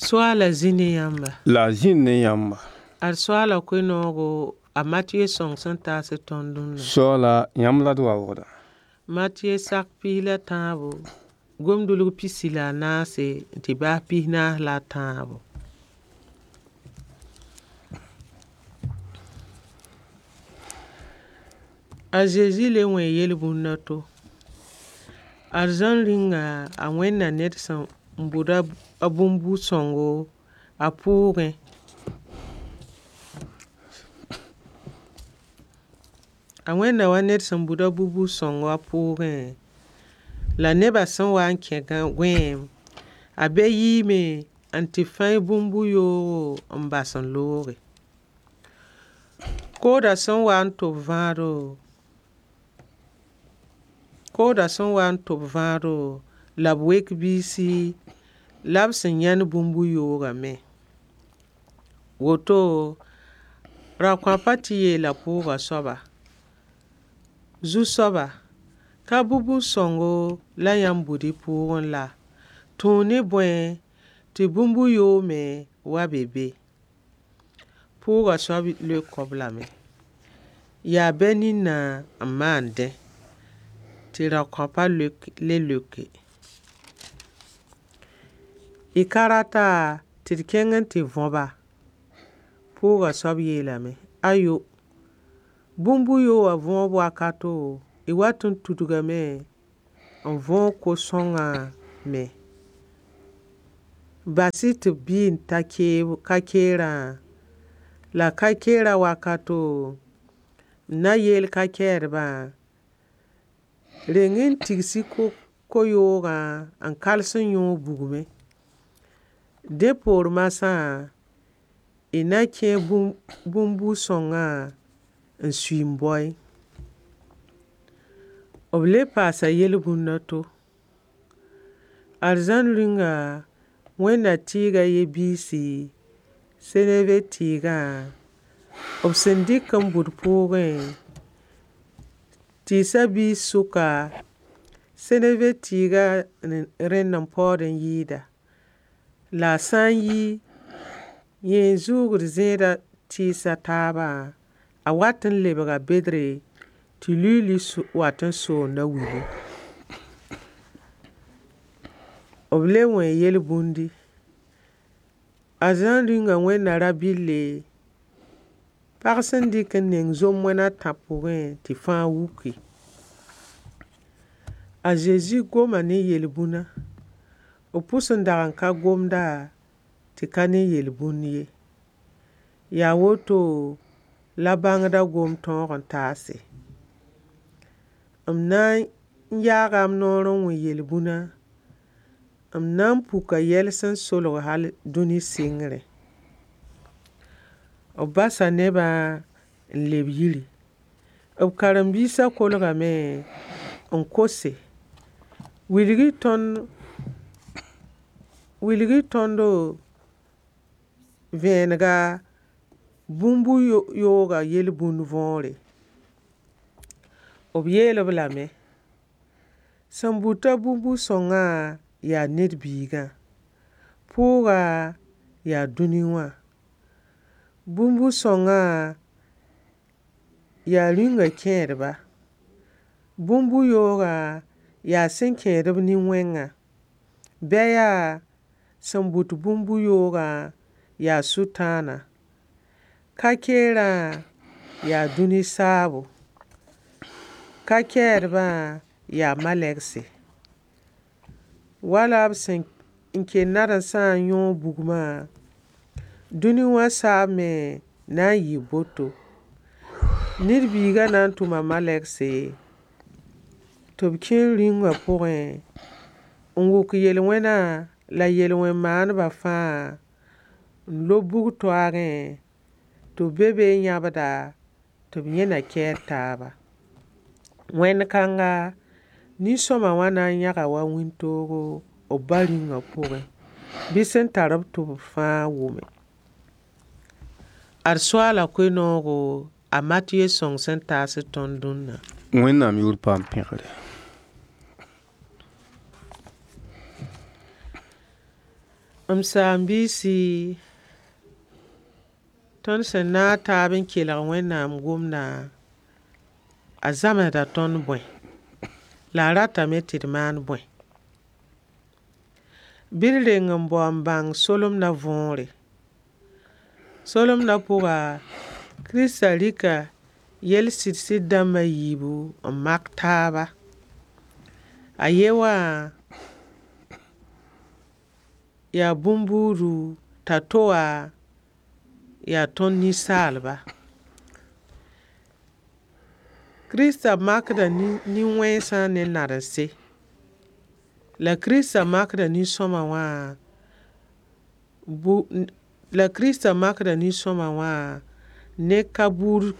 Soaala zĩ ne yãmba. La a zĩnd ne yãmba. Ad soaala koe-noogo a Matɩye sõng sẽn taas tõnd dũnna. Soaala, yãmb la d waoogda. Matɩye sak pis la tãabo, gomdulg pisi la a naase n tɩ baas pis-naas la a tãabo. A Zezi le wẽ yel-bũnd a to. Arzãn rĩnga a wẽnda ned sẽn bʋd a bũmb-sõngo a pʋʋgẽ. A wẽnda wa ned sẽn bʋd a bũmb-sõngo a pʋʋgẽ, la neba sẽn wa n kẽ gõeem, a bɛ yiime n tɩ fãy bũmb-yoogo n bas n looge. Kooda sẽn wa n tʋb vãado, kooda sẽn wa n tʋb vãado, la b wek biisi, la b sẽn yãend bũmb-yoogã me. Woto, rao-kãpa tɩ yeela pʋʋga soaba: Zu-soaba, ka bũmb-sõngo la yãmb bʋd y pʋʋgẽ laa? Tũu ne bõe tɩ bũmb-yoog me wa be be? Pʋʋga soab leok-b lame: Yaa bɛ nina n maan dẽ. Tɩ rao-kãpa le leoke: Y ka rata tɩ d kẽng n tɩ võba? Pʋʋga soab yeelame: Ayo! Bũmb-yoogã võob wakato, y wat n tudgame n võog ko-sõngã me. Bas-y tɩ b bɩ n ta ka-keerã, la ka-keerã wakato, m na yeel ka-kɛɛdbã: reng-y n tigs-y ko-yoogã n kals n yõog bugmẽ. Dẽ poor marsã, y na kẽ bũmb-sõngã n sui n baoe. B le paasa yel-bũnd a to. Arzãn rĩnga wẽnda tɩɩg a ye biisi seneve tɩɩgã, b sẽn dɩk n bʋd pʋʋgẽ, tɩɩsa biis sʋka, seneve tɩɩga rẽnd n paood n yɩɩda. La a sã n yi, yẽ n zʋʋgd zẽeda tɩɩs a taabã, a wat n lebga bedre tɩ luiili wat n soonda wilẽ. B le wẽ yel-bũndi. Arzãn rĩnga wẽnda ra-bɩlle, pag sẽn dɩk n neng zom-moan a tã pʋgẽ tɩ fãa wuki. A Zezi goma ne yel-bũna. B pʋs n dag n ka gomda tɩ ka ne yel-bũn ye. Yaa woto la bãngda gom-tõog n taase: M na n yaaga m noor n wẽ yel-bũna, m na n puka yɛl sẽn solg hal dũni sɩngrẽ. B basa nebã n leb yiri. B karen-biisã kolgame n kose: wilg-y tõndo vẽenega bũmb-yoogã yel-bũn võore. B yeel-b lame: sẽn bʋta bũmb-sõngã yaa ned biigã. Pʋʋga yaa dũni wã. Bũmb-sõngã yaa rĩnga kẽedba. Bũmb-yoogã yaa sẽn kẽed-b nin-wẽngã. Bɛ yaa sẽn bʋt bũmb-yoogã yaa Sʋtãana. Ka-keerã yaa dũni saabo. Ka-kɛɛdbã yaa malɛgse. Wala b sẽn kell nadensã n yõog bugmã, dũni wã saab me na n yɩɩ boto. Ned Biiga na n tʋma malɛgse tɩ b kẽ rĩungã pʋgẽ n wʋk yel-wẽna la yel-wẽn-maandbã fãa n lob bug-toaagẽ tɩ b be be n yãbda tɩ b yẽ na kɛɛd taaba. Wẽnd kãnga, nin-sõma wã na n yãga wa wĩntoogo b ba Rĩungã pʋgẽ. Bɩ sẽn tar-b tʋbr fãa wʋme. Ad soaala koe-noogo a Matɩye sõng sẽn taas tõnd dũnna. Wẽnnaam yʋʋr paam pẽgre. M saam-biisi, tõnd sẽn naag taab n kelg Wẽnnaam gomdã, a zãmsda tõnd bõe? La a ratame tɩ d maan bõe? Bɩ d reng n bao n bãng solemdã võore. Solemdã pʋga, Kirista rɩka yel-sɩd-sɩd dãmb a yiibu n mak taaba. A ye wã yaa bũmbuudu t'a to wã yaa tõnd ninsaalba. Kirista makda nin-wẽnsã ne narense. La Kirista makda nin-sõma wã la Kirista makda nin-sõma wã ne ka buud